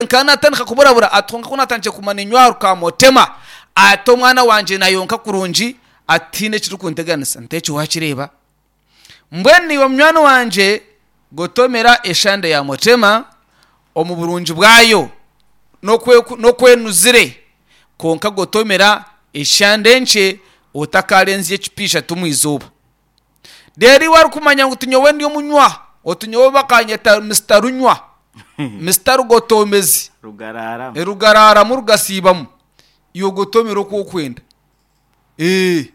Nkaba naatandika kuburabura ati kwonka ku naatandikire kuguma niinywa aha rukaamotema, ati omwana wangye naayonka kurungi, ati tihaine ekirikunteganisa. Nti ekyo waakireeba? Mbwenu iwe munywani wangye gotomera eshande ya motema omu burungi bwayo n'oku enuzire, kwonka gotomera eshande nkye otakaarenzya ecupa ishatu omu izooba. Reero iwe arikumanya ngu tinyowe ndi omunywa, oti nyowe bakanyeta Mister Runywa, Mister Rugotoomezi, Rugaraaramu. rugaraaramu rugasiibamu, iwe ogotoomere oku orikwenda. Ee,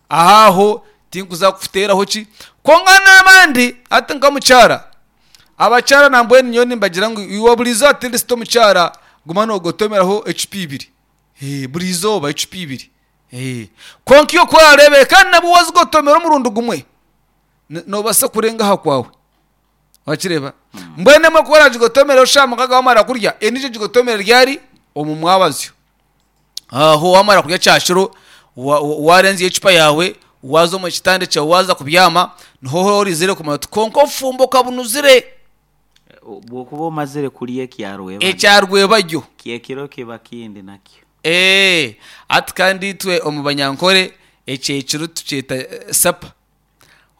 aho aho tinkuza kukuteeraho ki. Kwonka n'abandi hati nk'omukyara, abakyara nambwenu nyowe nimbagira ngu iwe buri izooba at least omukyara guma noogotoomeraho ecupa ibiri, buri izooba ecupa ibiri. Kwonka iwe ku oraareebe kandi nabwo waazigotomera omurundi gumwe, noobaasa kurenga aha kwawe. Wakireeba? Mbwenu emwe ku oraagigotomere eshaaha mukaaga waamara kurya, endiijo ogigotomere ryari? Omu mwabazyo. Aho waamara kurya kyakiro, waarenzya ecupa yaawe, waaza omu kitanda kyawe waaza kubyama, niho oraizire kumanya oti kwonka obufumbo okabunuzire. Bw'okuba omazire kurya ekya rwebagyo. Ekya rwebagyo. Ky'ekiro kiba kindi nakyo. Eeh hati kandi itwe omu Banyankore ekyekiro tukyeta sapa,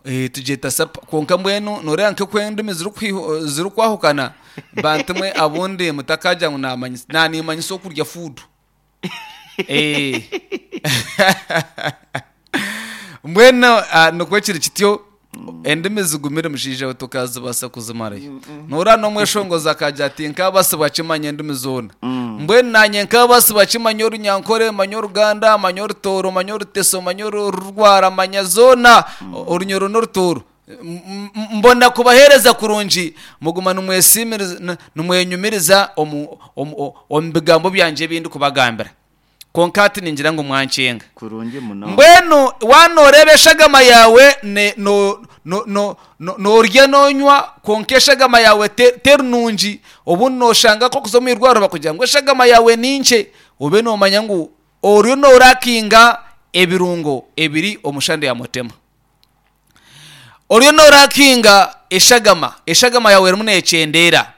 tugyeta sapa kwonka mbwenu nooreeba nk'oku endimi zirikwahukana bantu mwe abundi mutakagira ngu naamanyisa naanimanyisa okurya fuudu. Mbwenu nikwo kiri kityo, endimi zigumire mushaija we tokazibaasa kuzimarayo. Noreeba n'omweshongozi akagira ati nkaabaasibwa kimanya endimi zoona. Mbwenu naanye nkaabaasibwa kimanya Orunyankore, manya Oruganda, manya Orutooro, manya Oruteso, manya Orurwara, manya zoona, Orunyoro n'Orutooro. Mbona kubaheereza kurungi, muguma nimwenyumiriza omu bigambo byangye ebi ndikubagambira. Kwonka hati ningira ngu mwankyenga. Kurungi munonga. Mbwenu waaba nooreeba eshagama yaawe noorya noonywa kwonka eshagama yaawe teri nungi, obundi nooshanga nk'okuza omu irwariro bakugira ngu eshagama yaawe ni nkye, obe noomanya ngu oriyo noorakinga ebirungo ebiri omu shande ya mutema. Oriyo noorakinga eshagama, eshagama yaawe erimu neekyendeera.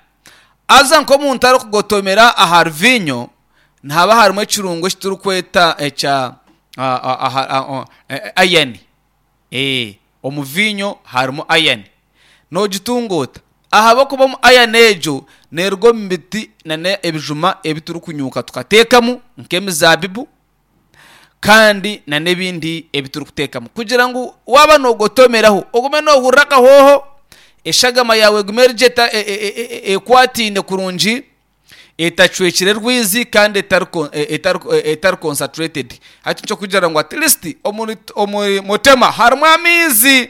Haza nk'omuntu arikugotomera ahari viinyo, nihaba harimu ekirungo eki turikweta ekya ayani. Omu viinyo harimu ayani. Noogitunga ota? Ahabw'okuba omu ayani egyo neeruga omu miti n'ebijuma ebi turikunyuuka tukateekamu nk'emizaabibu, kandi n'ebindi ebi turikuteekamu kugira ngu waaba noogotomeraho ogume noohurira akahooho, eshagama yaawe egume eri gye ekwataine kurungi, etacwekire rwizi kandi etari concentrated. Hati nikyo kugira ngu at least omuri mutema harimu amaizi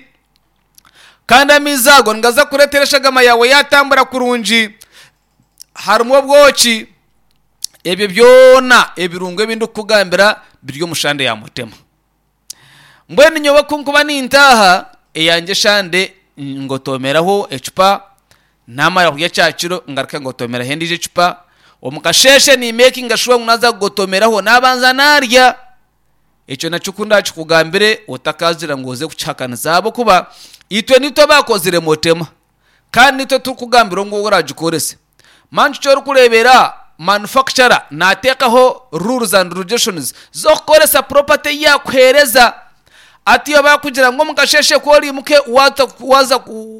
kandi amaizi ago nigaza kureetera eshagama yaawe yaatambura kurungi. Harimu obwoki, ebyo byona ebirungo ebi ndikukugambira biri omu shande ya mutema. Mbwenu nyowe ku nkuba nintaaha, eyangye eshande ngotomeraho ecupa, naamara kurya kyakiro ngaruka ngotomeraho endiijo ecupa, omu kasheeshe niimekinga shuwa ngu naaza kugotomeraho naabanza naarya. Ekyo nakyo ku ndaakikugambire otakaagira ngu oze kukihakanisa ahabw'okuba itwe nitwe abaakozire mutema. Kandi nitwe turikugambira ngu oragikorese. Manya eki orikureebera manufacturer naateekaho rules and regulations z'okukoresa property ei yaakuheereza. Hati iwe baakugira ngu omu kasheeshe ku oriimuke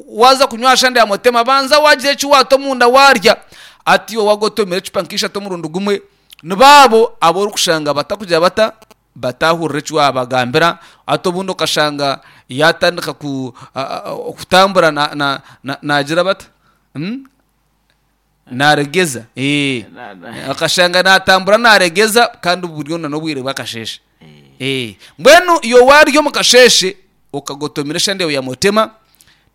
waaza kunywa aha shande ya mutema banza waagira eki waata omunda waarya. Hati iwe waagotomera ecupa nk'ishatu omurundi gumwe, nibo abo abu orikushanga batakugira bata? Bataahurira eki waabagambira, hati obundi okashanga yaatandika kutambura naagira bata? Naaregeza. Okashanga naatambura naaregeza kandi buri n'obwire bw'akasheeshe. Mbwenu iwe waarya omu kasheeshe okagotomera eshande yaawe ya mutema,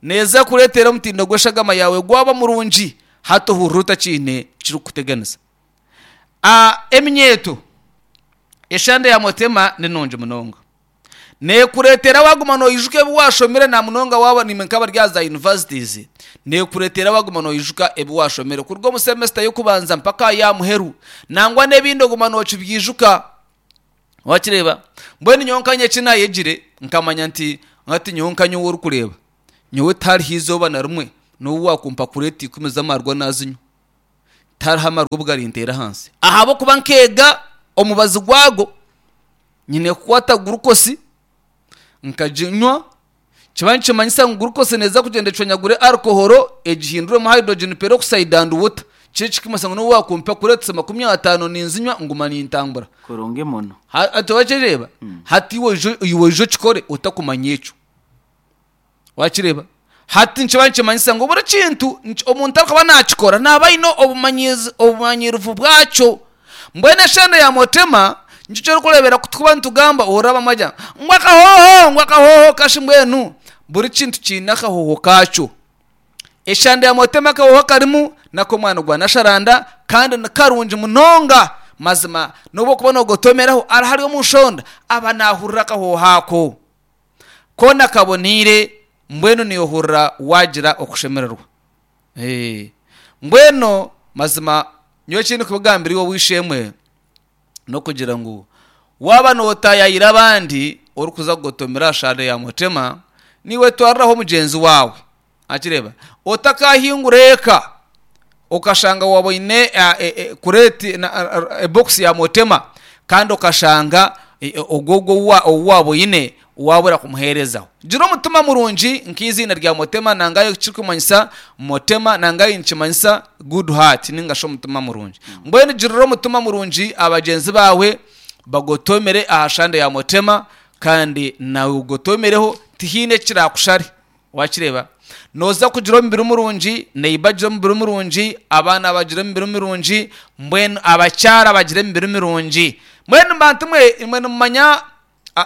neeza kureetera omutindo gw'eshagama yaawe gwaba murungi hati ohurire otakiine kirikukuteganisa. Eminyeeto, eshande ya mutema ni nungi munonga. Neekureetera waaguma noijuka ebi waashomire na munonga waaba naimwe nk'abari aha za universities, neekureetera waaguma noijuka ebi waashomire kuruga omu semester y'okubanza mpaka aha ya muheru. Nangwa n'ebindi oguma nookibyijuka. Waakireeba? Mbwenu nyowe nkanye eki naayegire, nkamanya nti hati nyowe nka nyowe orikureeba, nyowe tihariho eizooba na rimwe n'obu waakumpa kureeti ikumi z'amaarwa naazinywa. Tihariho amarwa obu garinteera ahansi. Ahabw'okuba nkeega omubazi gwago, nyine kukwata gurukosi nkaginywa, kiba nikimanyisa ngu gurukosi neeza kugyenda ecwanyagure alcohol egihinduremu hydrogen peroxide and water. Kiri kikimanyisa ngu n'obu waakumpa kureetisa 50 ninzinywa nguma nintambura. Kurungi muno. Hati wakireeba? Hati iwe iwe oije okikore otakumanya ekyo. Wakireeba? Hati nikiba nikimanyisa ngu buri kintu omuntu arikuba naakikora naaba aine obumanyiirivu bwakyo. Mbwenu eshenda ya Motema nikyo eki orikureebera ku turikuba nitugamba ohurira abamwe bagira ngu akahooho ngu akahooho kashi mbwenu buri kintu kiine akahooho kaakyo. Eshanda ya Motema akahooho akarimu n'ak'omwani gwa Nasharanda kandi ni karungi munonga mazima n'obu orikuba noogotomeraho ari omu nshonda aba naahurira akahooho ako. Koona kaboneire, mbwenu niyohurira waagira okushemererwa. Ee, mbwenu mazima nyowe eki ndikubagambira iwe ow'eishe-emwe, n'okugira ngu waaba nootaayaayira abandi orikuza kugotomera aha shaada ya Mutema, naiwe twariraho mugyenzi waawe. Wakireeba? Otakaahingura eka okashanga waaba oine kureeti ebokisi ya Motema kandi okashanga ogwo ogwo ou waaba oine waabura kumuheerezaho. Gira omutima murungi nk'eiziina rya Motema nanga ekirikumanyisa Motema nanga nikimanyisa good heart ninga shi omutima murungi. Mbwenu girira omutima murungi abagyenzi baawe bagotomere aha shande ya Motema kandi naiwe ogotomereho tihaine ekiraakushare. Wakireeba? Nooza kugira omubiri murungi, neiba agire omubiri murungi, abaana bagire emibiri mirungi, mbwenu abakyara bagire emibiri mirungi. Mbwenu bantu mwe, imwe nimumanya,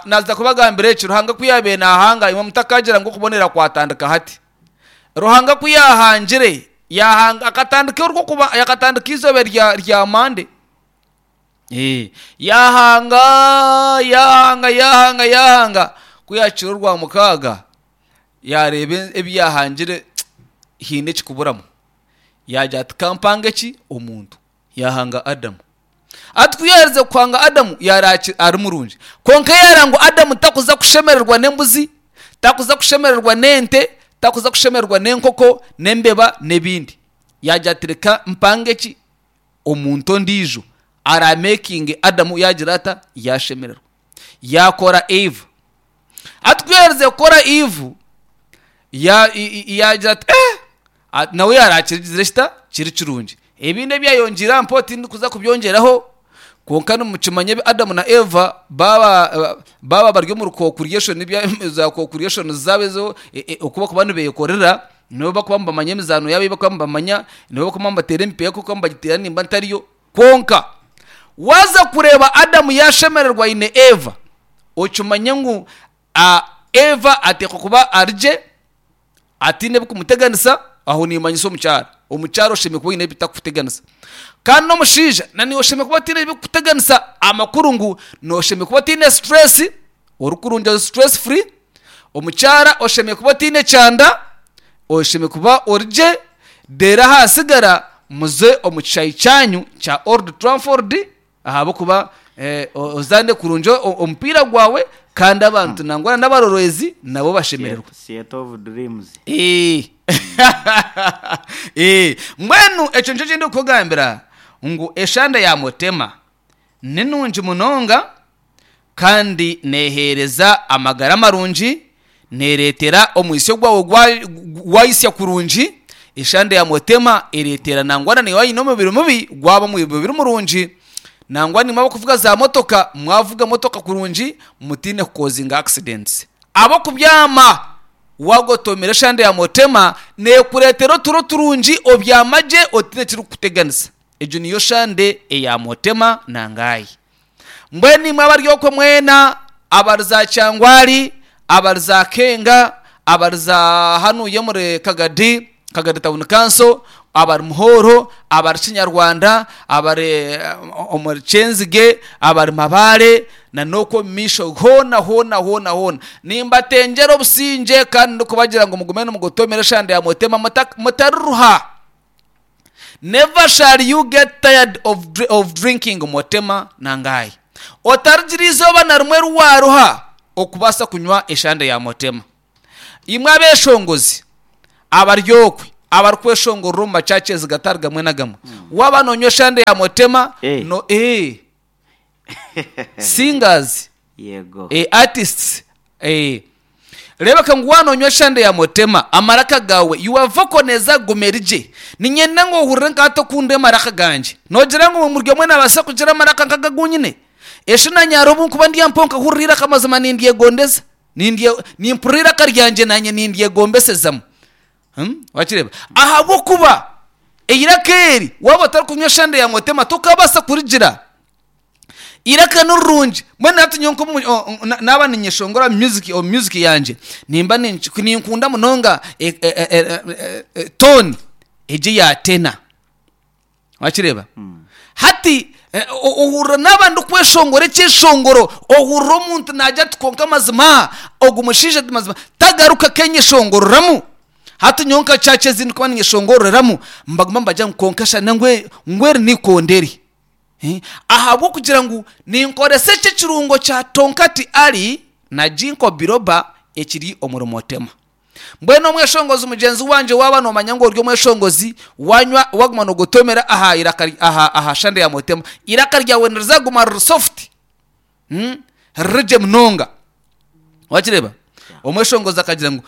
naaza kubagambira eki, Ruhanga ku yaabaire naahanga, imwe mutakagira ngu okubonera kwatandika hati. Ruhanga ku yaahangire, yaahanga, akatandika orw'okuba, akatandika eizooba rya, rya Monday. Ee, yaahanga, yaahanga, yaahanga, yaahanga, ku yaakira Orwamukaaga, yaareeba ebi yaahangire haine ekikuburamu. Yaagira ati, Ka mpange ki? Omuntu. Yaahanga Adamu. Ati ku yaaherize kuhanga Adamu, yaareeba ari murungi. Kwonka yaareeba ngu Adamu takuza kushemererwa n'embuzi, takuza kushemererwa n'ente, takuza kushemererwa n'enkoko, n'embeba, n'ebindi. Yaagira ati, Reka mpange ki? Omuntu ondiijo araamekinge Adamu yaagira ata? Yaashemererwa. Yaakora Eva. Hati ku yaaherize kukora Eve, ya- i- i- yaagira ati eh! A- nawe yaarakigizire kita? Kiri kirungi. Ebindi ebi yayongyeire aha mpeho tindikuza kubyongyeraho, kwonka nimukimanya ebi Adamu na Eva baaba baaba bari omuri co-creation ebya za co-creation zaabo ezo e- e- oku barikuba nibeekorera, nibo barikuba nibamanya emizaano yaabo ei barikuba nibamanya, nibo barikuba nibateera emipiira nk'oku bagiteera nimba ntariyo. Kwonka waaza kureeba Adamu yaashemererwa aine Eva, okimanye ngu Eva ateekwa kuba ari gye, ataine ebikumuteganisa, aho niimanyisa omukyara. Omukyara oshemereire kuba oine ebitakukuteganisa. Kandi n'omushaija na naiwe oshemereire kuba otaine ebikukuteganisa, amakuru ngu nooshemereire kuba otaine stress, orikurungi ori stress free, omukyara oshemereire kuba otaine kyanda, oshemereire kuba ori gye, reero ahasigara muze omu kishaayi kyanyu kya Old Trafford ahabw'okuba ozaane kurungi omupiira gwawe kandi abantu nangwa n'abarorwezi nabo bashemererwe. Theatre of Dreams. Mbwenu ekyo nikyo eki ndikukugambira ngu eshande ya Mutema ni nungi munonga kandi neeheereza amagara marungi, neereetera omwitsyo gwawe gwaitsya kurungi. Eshande ya Motema ereetera nangwa na naiwe waaba oine omubiri mubi gwaba omubiri murungi. Nangwa naimwe abarikuvuga zaamotoka mwavuga motoka kurungi mutaine kukozinga accidents. Ahabw'okubyama waagotomera eshande ya Motema neekureetera oturo turungi obyama gye otaine ekirikukuteganisa. Egyo niyo shande eya Motema na Ngaayi. Mbwenu imwe abari okwo mwena, abari za Kyangwali, abari za Kenga, abari za hanuya omuri Kagadi, Kagadi Town Council, abari Muhoro, abari Kinyarwanda, abari omuri Kyenzige, abari Mabare, na n'okwo omu maisho hoona hoona hoona hoona, nimbatengyera obusingye kandi ndikubagira ngu mugume nimugotomera eshande ya Mutema mutariruha. Never shall you get tired of, of drinking Motema na Ngai. Otarigira eizooba na rimwe eri waaruha okubaasa kunywa eshande ya Motema. Imwe abeeshongozi abari okwe, Abarikweshongorera omu machurches gatari gamwe na gamwe. Waaba noonywa eshande ya Motema, Eh. no eh. Singers, Yego. eh, artists, eh. Reebeka ngu waaba noonywa eshande ya Motema, amaraka gaawe, your vocal neeza kuguma eri gye. Niinyenda ngu ohurire nka hati oku ndi amaraka gangye. Noogira ngu buri omwe naabaasa kugira amaraka nk'aga agu nyine? Eshi naanye hariho obu nkuba ndi aha mpaho nkahurira eiraka mazima nindyegondeza. Nindye, nimpurira eiraka ryangye naanye nindyegombesezamu. Hmm? Wakireeba? Ahabw'okuba eiraka eri waaba otarikunywa eshande ya Motema tokabaasa kurigira. Eiraka ni rirungi. Mbwenu hati nyowe nk'omu o- o- na- naaba ninyeshongora omu music, omu music yangye, nimba ninki ninkunda munonga e- e- e- e- e- e- tone egi eya tenor. Wakireeba? Hati eh, o- ohurira naaba ndikweshongora ekyeshongoro, ohurira omuntu naagira ati kwonka mazima ogu mushaija ti mazima tagaruka akenyeshongoreramu. Hati nyowe nka church ezi ndikuba ninyeshongoreramu, mbaguma nibagira ngu kwonka shana ngu ngu eri n'eikondo eri. Eh, ahabw'okugira ngu ninkoresa eki ekirungo kya Tonkati Ali na Ginkgo Biloba ekiri omuri Motema. Mbwenu omweshongozi mugyenzi wangye waaba noomanya ngu ori omweshongozi, wanywa waguma noogotomera aha iraka aha aha shande ya Motema, eiraka ryawe nirizaguma riri soft, mm, riri gye munonga. Wakireeba? Omweshongozi akagira ngu.